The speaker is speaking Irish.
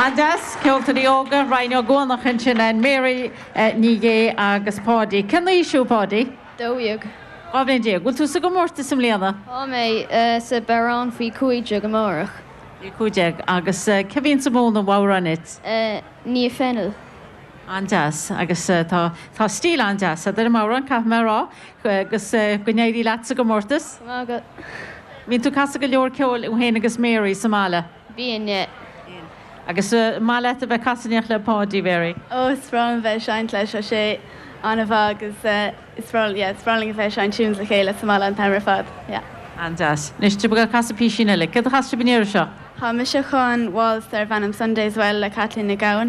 An-deas, ceoltóirí óga, Ryan Ó Guanach ansin and Mary Ní Dhé agus Páidí. Cén aois thú, Páidí? 12. 12 bhliain. Bhfuil tú sa gcomórtas i mbliana? Tá mé sa bodhrán faoi 15 amárach. Faoi 15. Agus cé bhíonns ag múineadh an bhodhráin duit? Niamh Fennell. An-deas. Agus tá tá stíl an-deas agat ar an mbodhrán, caithfidh mé a rá. Agus go n-éirí leat sa gcomórtas. Go raibh maith agat. Bíonn tú ag casadh go leor ceoil thú féin agus Mary sa mbaile? Bíonn, yeah. Bíonn. Agus an maith leat a bheith ag casadh in éineacht le Páidí, Mary? Ó, is breá liom a bheith ag seinnt leis, tá sé an-mhaith agus is breá, yeah, is breá linn a bheith ag seinnt tunes le chéile sa mbaile an t-am ar fad, yeah. An-deas. Anois, tá sibh ag casadh písín eile. Céard a chas sibh an iarraidh seo? Tá mise chun waltz darb ainm Sunday's Well le Caitlín Nic Gabhann.